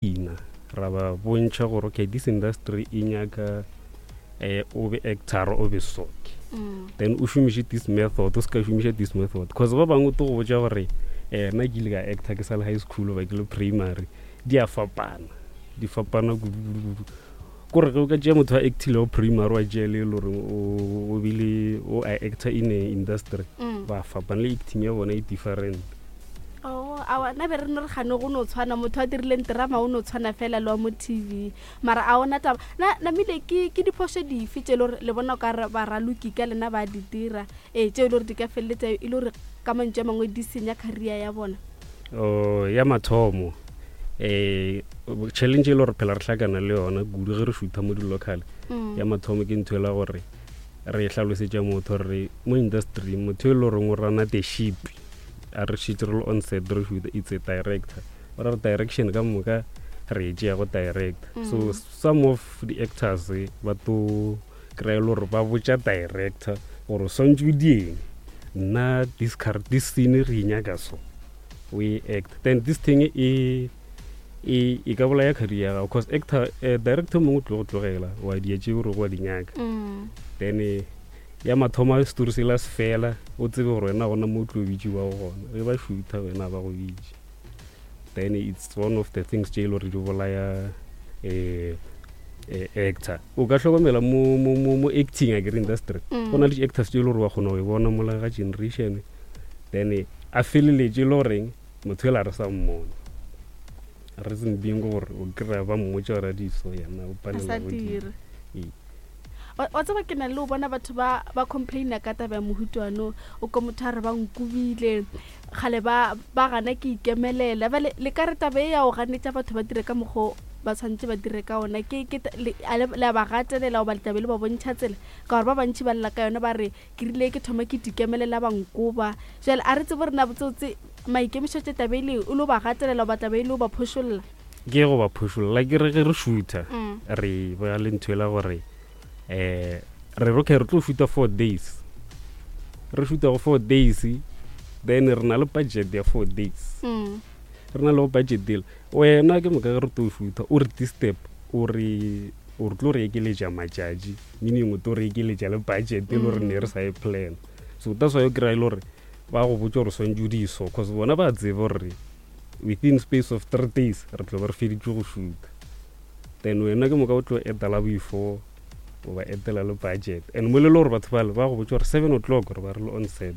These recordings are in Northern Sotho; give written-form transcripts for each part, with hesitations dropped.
Ina, ra ba bontšha gore okay this industry e nyaka eh, o be actor o be soke mm. then o šomiše this method o se ka šomiša this method cause ba bangwe o to go botša gore eh, nna ke ile ka actor ke sa le high school ba ke le primary di a fapana di fapana kudu-kudu kore ge o ka tšea motho a actilego primary wa tšea le e le gore o bile o a actor in a industry mm. ba fapana le acting ya bona e different Oh, awa nna be re no re gane go no tshwana motho a dirileng terama o no tshwana fela le wa mo tv mara a ona taba na namile ke ke diphošo dife tše e le gore le bona o ka re baraloki ka lena ba di dira ee tše e le gore di ka feleletsa e le gore ka mantšu a mangwe di senya career ya bona oh, ya mathomo um challenge e le gore phela re hlakana le yona kudu ge re šutha mo di-local mm. ya mathomo ke ntho e la gore re hlalosetša motho re mo industry motho e le goreng o rana the ship a re šetše re le on set re shoot it's a director o ra re direction ka moka re e tšea go director mm. so some of the actors eh, ba to kry-e le gore ba botša director gore o swantse o dieng nna this, car, this scene re e nyaka so we act then this thing e e e ka bolaya career ya gago cause actor eh, director mongwe o tlo go tlogela wa dia tše gore wa di nyaka mm. then eh, Ya mathomo a setori sela se fela, o tsebe gore wena gona mo o tlo bitšiwago gona. Ge ba šutha wena ba go bitše. Then it's one of the things tše e le gore di bolaya eh, eh, actor. O ka hlokomela mo, mo, mo, mo acting akere industry. Mm. Go na le di-actors tše e le gore wa kgona go e bona mola ga generation. Then a feleletše e le goreng motho ela re sa mmone. Reason being gore o kry-a ba mmotša gore a di so yena o palela go dira. Ee. Wa tseba ke na le o bona batho ba ba complaina ka taba ya mohutwano o ko motho a re ba nkobile kgale ba ba gana ke ikemelela bale le ka re taba e ya go ganetša batho ba dire ka mokgo ba tshwanetse ba dire ka ona ke ke le a ba gatelela goba letabe le ba bontšha tsela ka gore ba bantši ba lla ka yona ba re ke rile ke thoma ke dikemelela ba nkoba jale a re tsebo rena botsotse maikemišetšo taba e le o le ba gatelela goba taba e le o ba phošolla Ke go ba phošolla ke re ge re shutha mm. re ba le ntho ela gore um re okay re tlo shuta four days re shuta go four days then re na le budget ya four days mm. re na le go budget deal wena ke moka ge re tlo shutha o re disturb o re o re tlo re ekeletša matšatši meaning o tlo re ekeletša le budget e le gore ne re sa e plan so that's why o kry-a e le gore ba go botsa gore swantse o di so cause bona ba tseba gore within space of three days re tlo be re feditše go shoota then wena ke moka o tlo etela before o ba etela le budget and mo le le gore batho bale ba go botsa gore seven o'clock re ba re le on set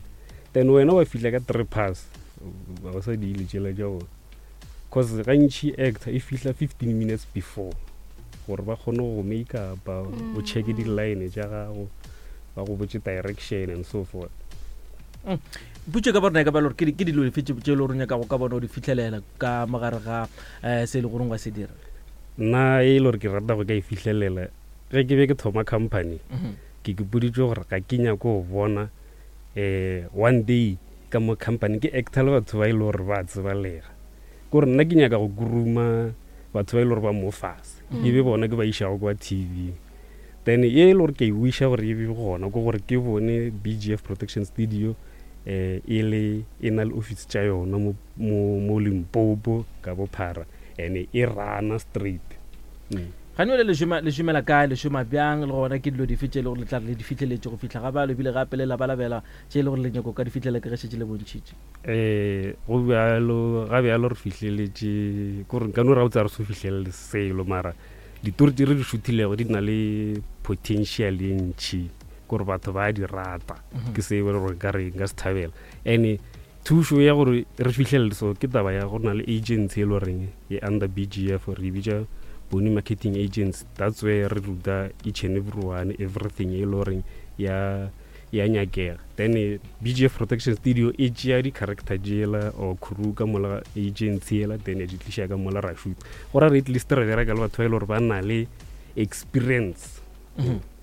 then wena wa fihla ka three pass ba ba sa diile tšela tša bona cause gantši actor e fihla 15 minutes before gore ba kgone go make upa o checke di-line tša gago ba go botse direction and so forth mm. putso ka borena e ka ba le gore ke dilo dife tse e le gore nyaka go ka bona o di fitlhelela ka mogare ga um se e le goreng wa se dira nna e le gore ke rata go ka e fitlhelela ge ke be ke thoma company mhm. ke ke boditse gore ga ke nyako go bona um one day ka mo company ke actor le batho ba e le gore ba tsebalega kore nna ke nyaka go kuruma batho ba e le gore ba mo fase mm. e be bona ke ba išago kwa tv Then ye e le gore ke e wiša gore e be gona ke gore ke bone BGF Protection Studio eh e le e na le office tša yona mo mo mo Limpopo ka bophara and e rana straight. Mm. Gane le šoma le šomela kae le šoma bjang le gona ke dilo dife tše e le gore le tla re le di fihleletše go fihla ga bjalo ebile gape le labalabela tše e le gore le nyako ka di fihlela ke ge šetše le bontšhitše Eh go bjalo ga bjalo re fihleletše ko re nka no ra botsa re so fihlelele selo mara Ditori tše re di šuthilego di na le potential ye ntšhi gore batho ba di rata mhm. ke se e gore ka re nka se thabela and thušo ya gore re fihlelele so ke taba ya go na le agency e le goreng e under bgf re e bitša bone marketing agency that's where re ruta each and every one everything e le goreng ya ya nyakega then eh, bgf protection studio e tšea di-character jela or crew ka mola agency ela then e di tliša ka mola ra shoot go ra re at least re bereka le batho ba e le gore ba na le experience mm-hmm.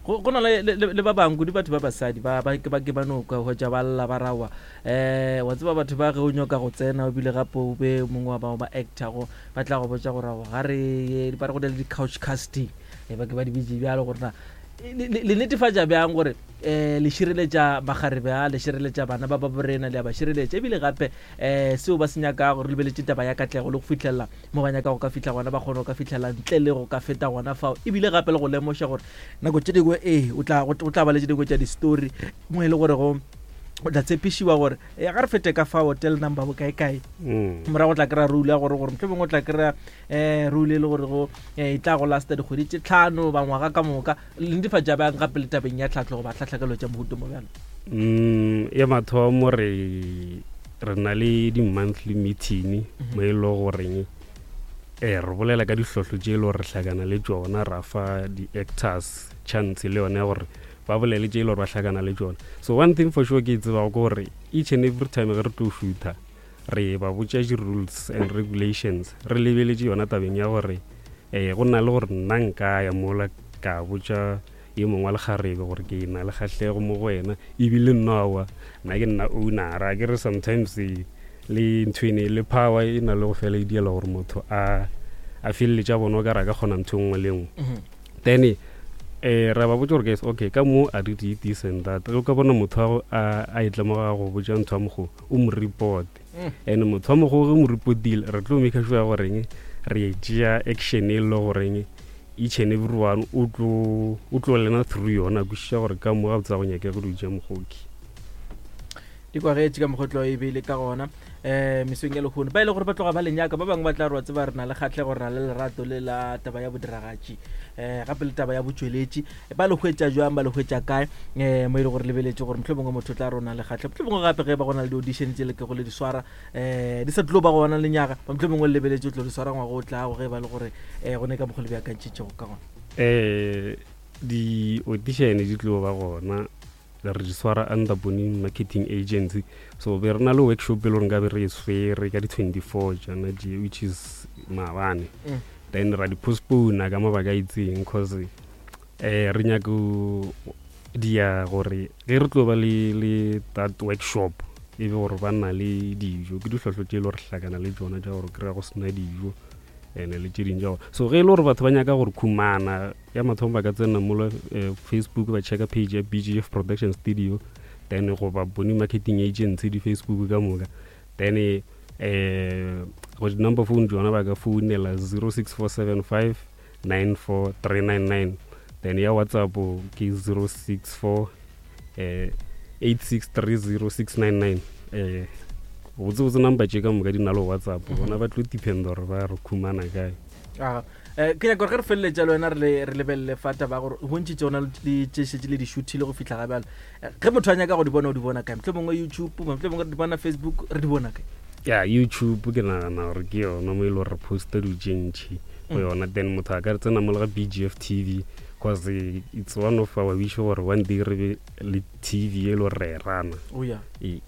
go na le ba bangwe kudu batho ba basadi ba ke ba ke ba no ka hwetša ba lla ba rawa um wa tseba batho ba ge o nyoka go tsena o bile gape o be mongwe wa bao ba actago ba tla go botša gore ga re ba re go na le di-couch casting e ba ke ba di bitše bjalo gore na Le netefatša bjang gore um le šireletša makgarebe a, le šireletša bana ba ba borena, le a ba šireletša ebile gape um seo ba se nyakago, re lebeletše taba ya katlego le go fihlelela mo ba nyakago ka fihla gona, ba kgone go ka fihlela ntle le go ka feta gona fao, ebile gape le go lemoša gore nako tše dingwe ee o tla, go tla ba le tše dingwe tša di-story mo e le gore go o tla tshepišiwa gore e ga re fete ka fa hotel number bokae kae morago o tla kry-a rule ya gore gore mohlomongwe o tla kry-a um rule e le gore go e tla go lasta dikgwedi tše tlhano ba ngwaga ka moka. Le netefatša bjang gape le tabeng ya tlhahlo goba tlhahlakelo tša mohuto mo bjalo? Ya mathomo re re na le di-monthly meeting mo e le goreng um re bolela ka dihlohlo tše e le gore re hlakana le tšona, ra fa di-actors chance le yone ya gore ba bolele tše e le gore ba hlakana le tšona. So one thing for sure ke e tsebago ke gore each and every time ge re tlo shoota re ba botša di-rules and regulations, re lebeletše yona tabeng ya gore um go na le gore nna nka ya mola ka botša ye mongwe wa lekgarebe gore ke na le kgahlego mo go wena, ebile nna aowa nna ke nna ownera. Ke re sometimes le nthwene le power e na le go fela e diela gore motho a a feleletše a bona o ka re a ka kgona ntho e nngwe le nngwe. Then eh ra ba botša gore guys, okay, ka mo a re di this and that, ge o ka bona motho a a e tlemoga go botša ntho ya mogo o mo report. And motho wa mogo ge mo reportile re tlo make sure goreng re tšea action e le goreng each and every one o tlo o tlo lena through yona, kwešiša gore ka mo ga botsa go nyake go dutša mogoki. Di kwagetše ka mokgotlo e be le ka gona um mesong ya lehono. Ba e le gore ba tloga ba le nyaka, ba bangwe ba tla re wa tseba re na le kgatlhego, re na le lerato le la taba ya bodiragatši um gape le taba ya botšweletši. Ba le hwetša jwang, ba le hwetša kae um mo e le gore lebeletše gore mohlomongwe motho o tla re o na le kgatlhego, mohlomongwe gape ge ba go na le di-audition tše le kego le di swara um di sa tlo ba gona lenyaga, ba mohlomongwe le lebeletše o tlo di swara ngwaga o tlago ge ba le gore um go ne ka mokgwa le beakantšhitšego ka gona. Um di-audition di tlo ba gona, re di swara under Boning Marketing Agency. So be re na le workshop e le gore nkabe re e swere ka di-24 jana di, which is maabane. Then ra di postpone ka mabaka a itseng cause eh re nyako dia gore ge re tlo ba le le that workshop e be gore ba na le dijo, ke dihlahlo tše e le gore hlakana le tšona tša gore kry-a go sena dijo ene le tše dingwe tša gore. So ge e le gore batho ba nyaka gore khumana ya mathomo ba ka tsena mola Facebook ba checka page ya BGF Production Studio, then goba Boni Marketing Agency di Facebook ka moka, then go di number phone tsona ba ka founela 06475 94399, then ya WhatsApp ke 064 8630699. Botse botse number tše ka moka di na le WhatsApp, bona ba tlo depend gore ba re khumana kae. Aga. Ke nyaka gore ge re feleletša le wena re re lebelele fa taba ya gore bontši tšona le tše šetše le di shuthile go fihla ga bjalo. Ge motho a nyaka go di bona o di bona kae? Mohlomongwe YouTube, mohlomongwe re di bona Facebook, re di bona kae? Ya YouTube ke nagana gore ke yona mo e le gore re posta dilo tše ntši go yona, then motho a ka re tsena mo le ga BGF TV cause it's one of our wish gore one day re be le TV e le gore re e rana. Oh yeah. Ee.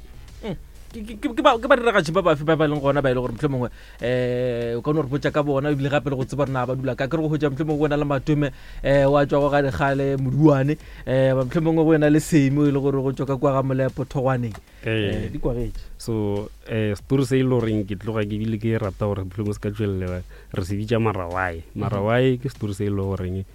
Ke ba diragatši ba bafe ba ba leng gona ba e le gore mohlomongwe um o ka no re botša ka bona ebile gape le go tseba rena ba dula ka ke re go hwetša mohlomongwe go na le Matome um wa tšwa go ga dikgale Moduane, um mohlomongwe go ena le Semi e le gore go tšwa ka kua ga Molepo Thogwaneng. Di kwagetše. So story se e le goreng ke tloga ke bile ke rata gore mohlomongwe se ka tšwelelela, re se bitša Marawae. Marawae ke story se e le goreng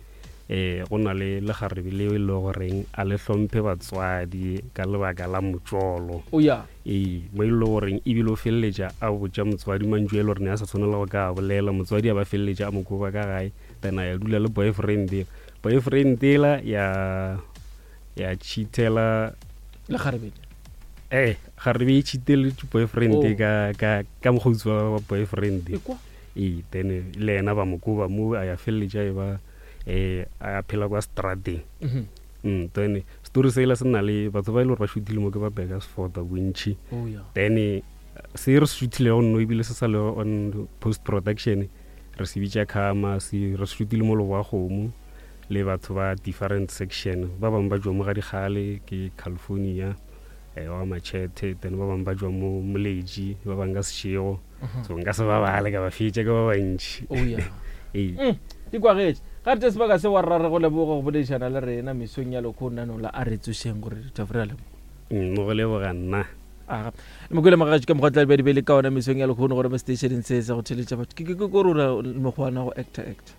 um go na le lekgarebe leo e le goreng a le hlomphe batswadi ka lebaka la motšolo. Oh yeah. Ee, mo e le goreng ebile o feleletša a botša motswadi mantšu a e le gore ne a sa tshwanela go ka a bolela, motswadi a ba feleletša a mo koba ka gae, then a ya dula le boyfriend ela. Boyfriend ela ya ya cheatela lekgarebe. Eh, kgarebe e cheateletše boyfriend Oh. ka ka ka mokgotsi wa boyfriend. Ekwa. Ee, then le yena ba mo koba mo a ya feleletša e ba a phela kwa strateng. Then story sela se na le batho ba e le gore ba shootile mo ke ba Burgersfort bontši. Oh, yeah. Then se re se shootilego nno ebile se sa le on post production, re se bitša Khama, se re se shootile mo Leboa-Kgomo le batho ba different section. Ba bangwe ba tšwa mo ga Dikgale ke California, wa Machete, then ba bangwe ba tšwa mo Moletši, ba bangwe ka Seshego. So nka se ba bale ka ba fetša ke ba bantši. Oh, yeah. Ee. Di kwagetše. Ga re tše sebaka se wa rra re go leboga go boledišana le rena mesong ya lekhono nano la a re tsošeng gore re re a leboga. Mo go leboga nna. Aga. Le mokwele mogagetši ka mokgwa tla be di be le ka ona mesong ya lekhono gore mo stationeng se se go theletša batho. Ke ke ke gore o na mokgwa wa go actor actor.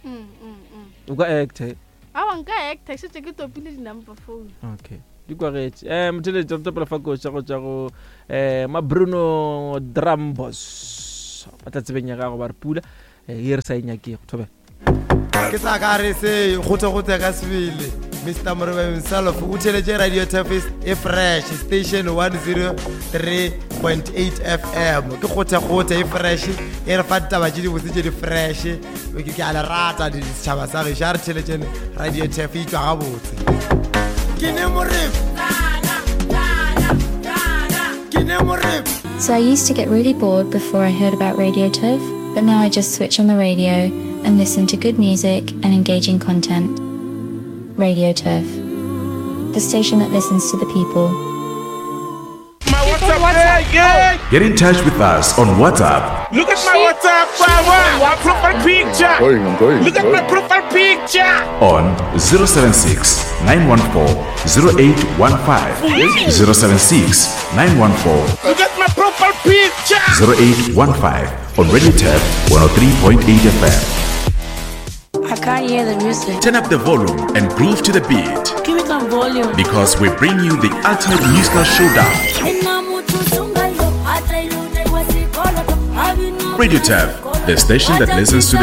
O ka actor. Awa nka actor šetše ke topile di-number phone. Okay. Di kwagetše. Eh motheletši re topela fa koša go tšwa go eh Mabruno Drumbos. Ba tla tsebeng ya gago ba re pula eh ye re sa e nyakego. Thobela. Ke sa ka re se gote-gote ka sebele. Mr. Morebe himself o theletše Radio Turfis e fresh station 103.8 FM. Ke gote-gote e fresh e re fa ditaba tše dibotse tše di fresh. Ke a le rata setšhaba sa gešo a re theletšene Radio Turf e tšwa gabotse. Ke ne Morebe. Ke ne Morebe. So I used to get really bored before I heard about Radio Turf, but now I just switch on the radio and listen to good music and engaging content. Radio Turf, the station that listens to the people. My WhatsApp, yeah, Get in touch with us on WhatsApp. Look at my WhatsApp, my profile picture. I'm going, I'm going. Look at my profile picture. On 076 914 0815. 076 914 Look at my profile picture. 0815 on Radio Turf 103.8 FM. I can't hear the music. Turn up the volume and groove to the beat. Give me some volume. Because we bring you the ultimate musical showdown. Radio Turf, the station that listens to the